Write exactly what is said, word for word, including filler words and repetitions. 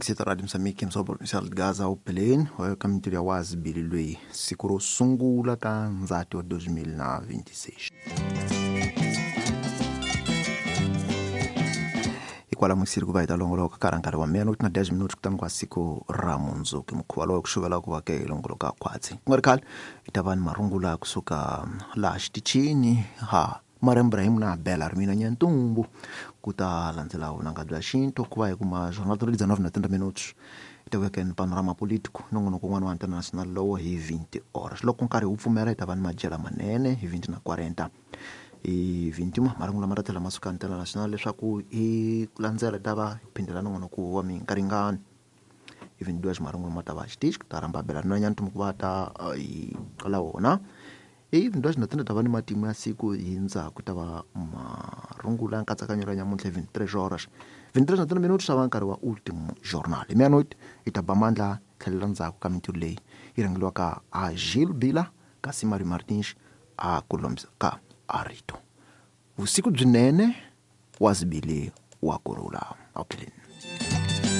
Mixita Radio Moçambique, msobo provincial de Gaza upeleni wa ka mintirho ya wazibili lweyi siku ro sungula ka Ndzati wa dois mil na vinte e seis. Hikwalaho mixiri ku va hi ta longoloka ka nkarhi wa meia-noite na dez minutos kutani kwa siku ra mundzuku mukhuva lowu ku xuvela ku va ke longoloka khwatsi ku nga ri khale hi ta va ni marungula kusuka laha xitichini ha Mariam Ibrahim na Bela Rimina Nyantumbu ku ta landzela vunanga bya xintu ku va hi kuma jornal de dezenove na trinta minutos hi ta vuya ni panorama político nongonoko wun'wana wa international lowo hi vinte horas loko nkarhi wu pfumela hi ta va ni madyela manene hi vinte na quarenta hi vinte e marungula ma ta tlhela ma suka international leswaku hi landzela hi ta va hi phindela nongonoko wa minkaringano hi vinte e dois marungula ma ta va xitichi ku ta rhamba Bela Rimina Nyantumbu ku va ta hi la wona hi vinte e dois na trinta ta va ni matimu ya siku hi ndzhaku ta va marungula ya nkatsakanyo ra nyamuntlha hi vinte e três horas vinte e três na trinta minutos ta va nkarhi wa último jornal hi meia-noite hi ta ba mandla tlhelela ndzhaku ka mintirho leyi yi rhangeliwaka a Gil Bila kasi Mario Martins a ku lombisa ka Arito vusiku byinene wa zibili wa kurhula awupheleni.